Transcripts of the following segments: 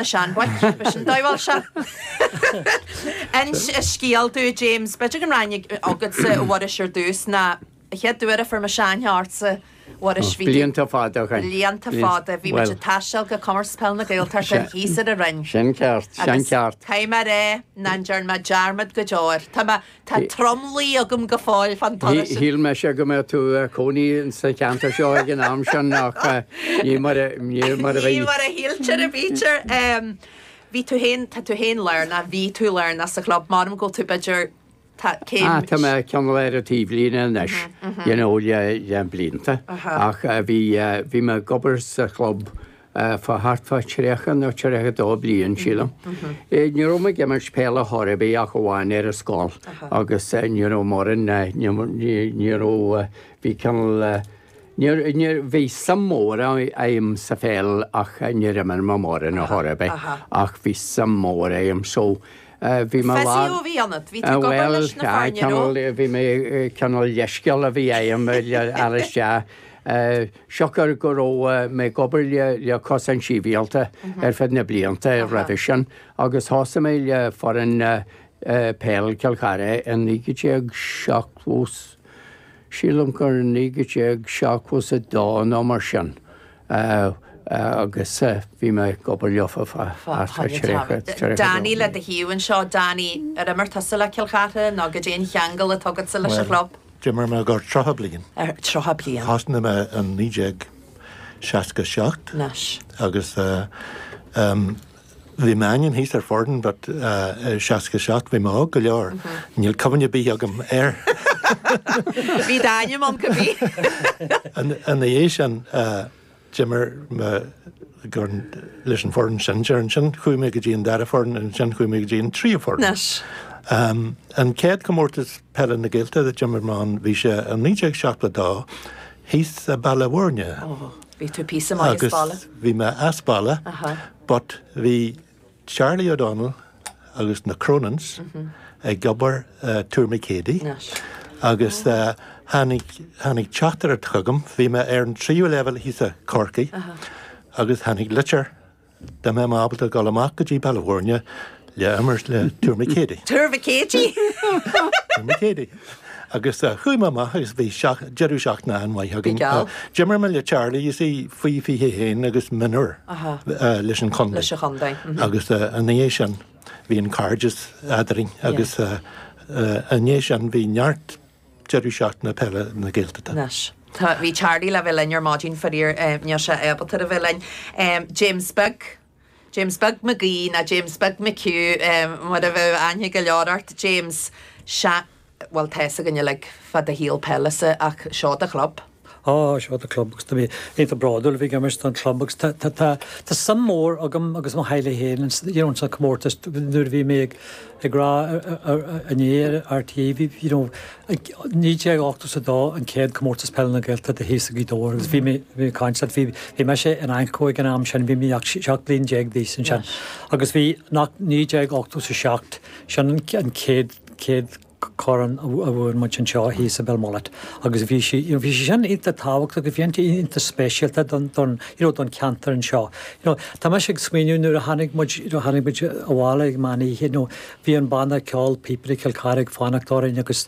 Na seanbhoic, b'shin dóigh sé. Inis scéal dúinn, James, b'fhéidir go raibh aithne agatsa a Mhuiris ar dtús ná an chéad uair a fuair mise aithne ortsa, Mhuiris, bhí tú. Blianta fada ó shin. Blianta fada. Bhí muid ag taisteal go Comórtas Peile na Gaeltachta thíos ar an Rinn. Sin ceart, sin ceart. Agus caithfidh mé a rá nach ndearna mé dearmad go deo air. Tá mé Tá tromluí agam go fóill fán turas sin. Shíl mise go mbeadh tú ag cónaí sa cheantar seo ag an am sin ach ní mar a bhí. Ní mar a shíltear a bhítear. Bhí tú féin, tá tú féin lárnach, bhí tú lárnach sa chlub, measaim go bhfuil tú b'fhéidir, tá céim. Ah tá mé cineál ar an taobhlíne anois, you know, le le blianta ach bhí bhí mé ag obair sa chlub fá thart fá 30 nó 32 bliain, sílim. Ní raibh mé ag imirt peile chor ar bith ach amháin ar an scoil agus ní raibh mórán, ní raibh, bhí cineál, níor, bhí suim mhór a'm sa pheil ach níor imir mé mórán ar chor ar bith ach bhí suim mhór a'm so bhí mé lár. Physio a bhí ionat, bhí tú ag obair leis na foirne, raibh? Bhuel, bhí mé, cineál leithscéal a bhí a'm le fháil isteach. Siocair go raibh mé ag obair le Cosaint Shibhialta ar feadh na blianta roimhe sin agus thosaigh mé le foireann peil Chill Chartha i 1970, sílim gur 1972 nó mar sin agus bhí mé ag obair leofa fá thart fá 30, 32 Danny le do thaobh anseo, Danny, ar imir tusa le Cill Chartha nó goidé an cheangal atá agatsa leis an chlub? D'imir mé gar 30 bliain. Ar 30 bliain. Thosnaigh mé in 1967. Anois. Agus bhí m'ainm thíos ar foireann but i 67 bhí mé óg go leor. Níl cuimhne ar bith agam air. Bhí d'ainm ann cibé. Ina dhiaidh sin D'imir mé leis an foireann sinsir, ansin chuaigh mé go dtí an dara foireann, ansin chuaigh mé go dtí an tríú foireann. Anois. An chéad comórtas peile na Gaeltachta a d'imir mé ann, bhí sé i 1972 thíos i Baile Bhúirne. Ó, bhí tú píosa maith as baile. Agus bhí mé as baile, but bhí Charlie O'Donnell agus na Cronins ag obair i Tourmakeady agus tháinig tháinig teachtaireacht chugam, bhí mé ar an tríú leibhéal thíos i Corcaigh agus tháinig litir dá mbeadh mé ábalta dul amach go dtí Baile Bhúirne le imirt le Tourmakeady. Tourmakeady! Tourmakeady. Agus chuaigh mé amach agus bhí deireadh seachtaine an-mhaith againn. D'imir mé le Charlie, you see, faoi 21 agus mionúir leis an chontae. Leis an chontae. Agus ina dhiaidh sin bhí an cairdeas eadrainn agus ina dhiaidh sin bhí neart deireadh seachtaine peile na Gaeltachta. Anois, tá, bhí Charlie le bheith linn ar maidin faraor níl sé ábalta a bheith linn. James Beag. James Beag Mac Aoidh nó James Beag McHugh mar a bheadh aithne go leor ort. James, Sea, bhuel tá fhios againn uilig fá do shaol peile-sa ach seo do chlub. Á, seo do chlub agus tá mé iontach bródúil a bheith ag imirt don chlub agus tá, tá, tá, tá suim mhór agam agus mo theaghlach féin ins, you know, ins an comórtas nuair a bhí mé ag, ag rá inné ar RTÉ, bhí, you know, 1982 an chéad Comórtas Peile na Gaeltachta thíos i Gaoth Dobhair agus bhí mé ag caint leat, bhí bhí mise in Anco ag an am sin, bhí mé ach 17 bliain d'aois ansin agus bhí nach 1987 sin an chéad chéad chorn a bhuaigh muid anseo thíos i Belmullet agus bhí sí you know bhí sé sin iontach tábhachtach agus bhí iontach speisialta don don you know don cheantar anseo. You know tá mise ag smaoineamh nuair a tháinig muid you know tháinig muid abhaile ag meán oíche you know Bhí an banna ceoil Píobairí Chill Chartha ag fanacht orainn agus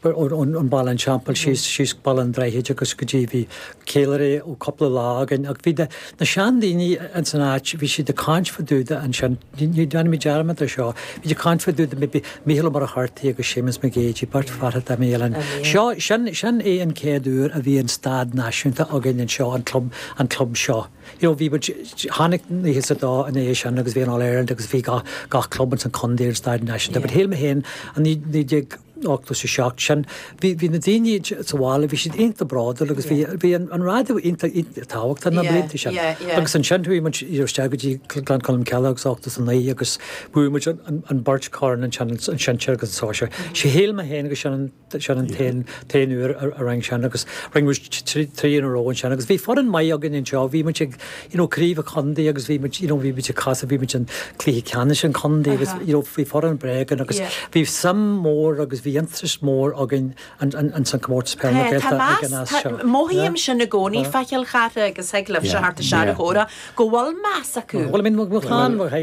ón Baile an Teampaill síos síos Baile an Droichid agus go dtí bhí ceiliúradh ó cúpla lá againn ach bhí na na seandaoine ins an áit bhí siad ag caint fá dtaobh de ansin ní déanfaidh mé dearmad ar seo bhí siad ag caint fá dtaobh de maybe Mícheál Ó Muircheartaigh agus Séamus Mac Géidigh beirt fear a d'imigh linn. Seo sin sin é an chéad uair a bhí an staid náisiúnta againn anseo an club an club seo. You know bhí muid, tháinig 92 ina dhiaidh sin agus bhí an All Ireland agus bhí gach, gach club ins an chontae ar an staid náisiúnta. But shíl mé féin an 1987 sin, bhí, bhí na daoine sa bhaile, bhí siad iontach bródúil agus bhí, bhí an, an raidió iontach, iontach tábhachtach na blianta sin. Agus ansin chuaigh muid you know isteach go dtí Gleann Cholm Cille agus 89 agus bhuaigh muid an, an, an beirt chorn ansin, an sinsear agus an sóisear. Shíl mé féin agus sin an, Sin an t-aon uair a rinne sin agus rinne muid trí in a row ansin agus bhí foireann maith againn anseo, bhí muid ag you know craobh an chontae agus bhí muid you know bhí muid ag casadh, bhí muid in cluiche ceannais an chontae agus you know bhí foireann breá againn agus bhí suim mór agus bhí. bhí interest mór againn ins an comórtas peil na Gaeltachta ag an am seo. Mothaím sin i gcónaí fá Chill Chartha agus thig libhse theacht isteach ar an chomhrá go bhfuil meas acu. Bhuel, I mean, mo chlann, mo.